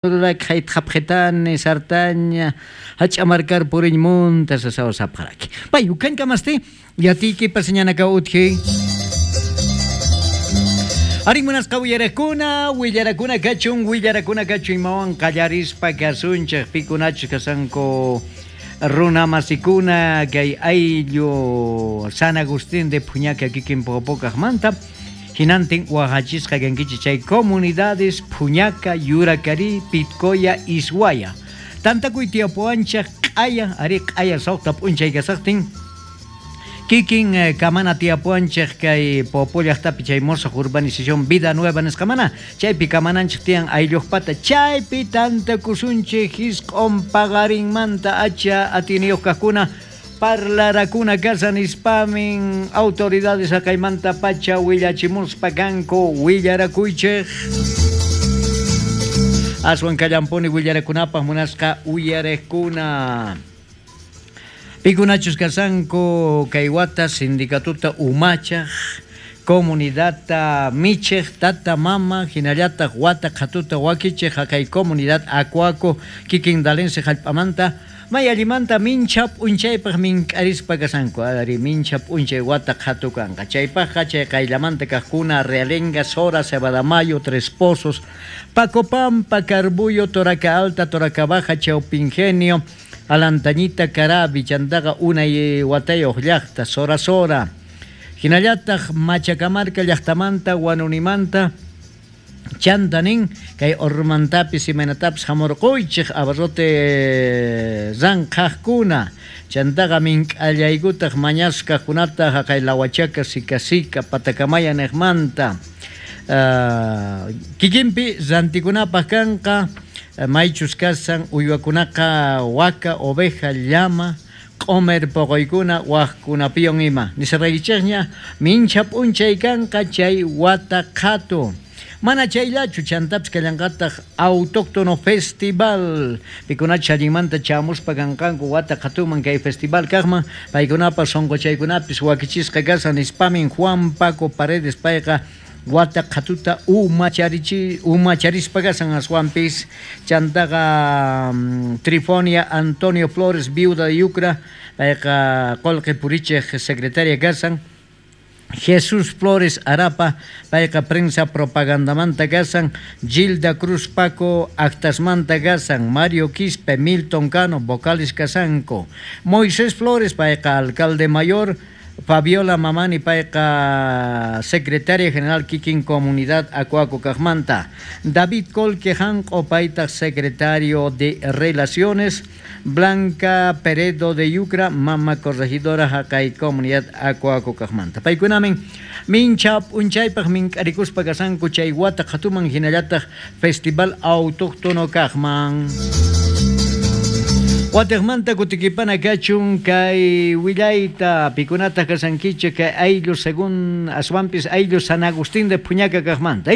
Ruraki hayt'apqitani sartaña hach'amarkar puriñmunta sasawa sapqaraki. Pay ukankamasti yatiykipas ñanaka utji. Arí munasqa willarakuna, willarakuna kachun, willarakuna kachun imawan qallarispa kasunchik pikunachus kasanku runamasikuna kay ayllu San Agustín de Phuñaca kikin Popocajmanta. Hinantin waqachisqa kankichik chay comunidades Phuñaca, Yuracarí, Pitcoya, Ishuaya. Tantakuy tiyapuwanchik q'aya, arí q'aya suqta p'unchay kasaqtin. Kikin kamana tiyapuwanchik kay Popo llaqtapi chay musuq urbanización Vida Nueva nisqamana, chaypi kamananchik tiyan aylluqpata, chaypi tantakusunchik hisq'un paqarinmanta acha atiniyuq kaqkuna parlarakuna kasa nispamin autoridades haqaymanta pacha willachimuspa kanku willarakuychik. Aswan kallampuni willarakunapaq munasqa uyariqkuna. Pikunachus kasanku kay wata sindicatuta umachaq, comunidadta michiq, tata mama, hinallataq wata qhatuta wakichiq haqay comunidad Acuaco kikin dalense hallp'amanta may allimanta mincha p'unchaypaq mink'arispa kasanku, ari mincha p'unchay wata qhatu kanqa. Chaypaqqa chay qayllamanta kaqkuna Realenga, Sora, Cebadamayo, Tres Pozos, Pacopampa, Carbuyo, Toraca Alta, Toraca Baja, Chaupingenio, Alantañita, Carabi, chantaqa unay watayuq llaqta, Sora Sora. Hinallataq Machacamarca llaqtamanta, Huanunimanta, chantanin kay ormantapis imaynatapis hamurquychik abarrote ranqhaqkuna chantaqa mink'allaykutaq mañasqakunata haqay Lawachaka, Sika Sika, Patacamaya niqmanta. Kikinpi rantikunapaq kanqa maychus kasan uywakunaqa waka, oveja, llama, q'umer poqoykuna waqkunapiwan ima. Nisaraykichikña mincha p'unchay kanqa chay wata qhatu. Mana chayllachu chantapis kallanqataq Autóctono Festival. Pikunachus allinmanta chamuspa kanqanku wata qhatuman kay festival kaqman paykunapas sunquchaykunapis wakichisqa kasan nispamin Juan Paco Paredes payqa wata qhatuta umacharispa kasan aswanpis chantaqa Trifonia Antonio Flores viuda de Yucra payqa qullqi purichiq secretaria kasan. Jesús Flores Arapa, payqa prensa propagandamanta kasan, Gilda Cruz Paco actasmanta kasan, Mario Quispe, Milton Cano, vocales kasanku, Moisés Flores, payqa alcalde mayor, Fabiola Mamani, payqa secretaria general kikin comunidad Acuaco kaqmanta, David Colque Janco, paytaq secretario de Relaciones, Blanca Peredo de Yucra, mama corregidora haqay comunidad Acuaco kaqmanta. Paykunamin mincha p'unchaypaq mink'arikuspa kasanku chay wata qhatuman hinallataq Festival Autóctono kaqman. Watiqmanta kutikipana kachun kay willayta pikunataq kasankichik kay ayllu según aswanpis ayllu San Agustín de Phuñaca kaqmanta,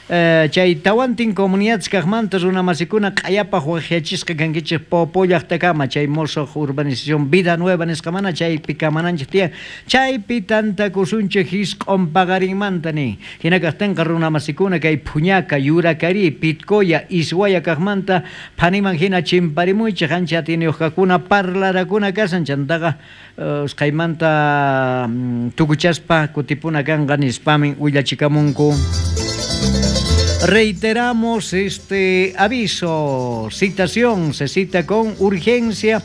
Chay tawantin comunidades kaqmanta runamasikuna q'ayapaq waqyachisqa kankichik Popo llaqtakama chay musuq urbanización Vida Nueva nisqamana chaypi kamananchik tiyan chaypi tantakusunchik hisq'un paqarinmanta nin hina kaqtinqa runamasikuna kay Phuñaca, Yuracarí, Pitcoya, Ishuaya kaqmanta phaniman hina chimparimuychik ancha atiyniyuq kaqkuna parlarakuna kasan chantaqa usqhaymanta tukuchaspa kutipuna kanqa nispamin willachikamunku. Reiteramos este aviso, citación, se cita con urgencia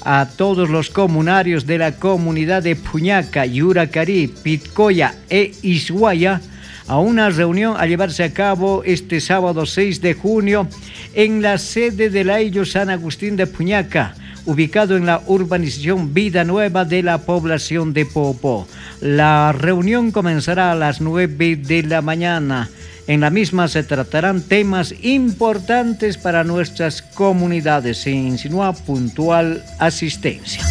a todos los comunarios de la comunidad de Phuñaca, Yuracarí, Pitcoya e Ishuaya a una reunión a llevarse a cabo este sábado 6 de junio en la sede del Ayllu San Agustín de Phuñaca, ubicado en la urbanización Vida Nueva de la población de Popo. La reunión comenzará a las 9 de la mañana. En la misma se tratarán temas importantes para nuestras comunidades. Se insinúa puntual asistencia.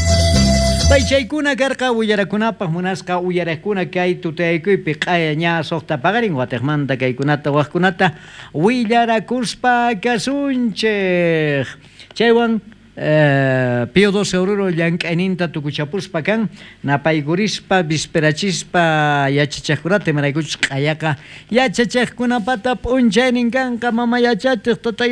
Paychaykuna karqa willarakunapaq munasqa uyariqkuna kay tutayaykuypi q'aya ña suqta paqarin watiqmanta kaykunata waqkunata willarakuspa kasunchik. Chaywan Pío XII Oruro llank'ayninta tukuchapuspa kan, napaykurispa, visperachispa yachachejkunata, imaraykuchus q'ayaqa yachachejkunapata p'unchaynin kanqa, mama yachachej, tata.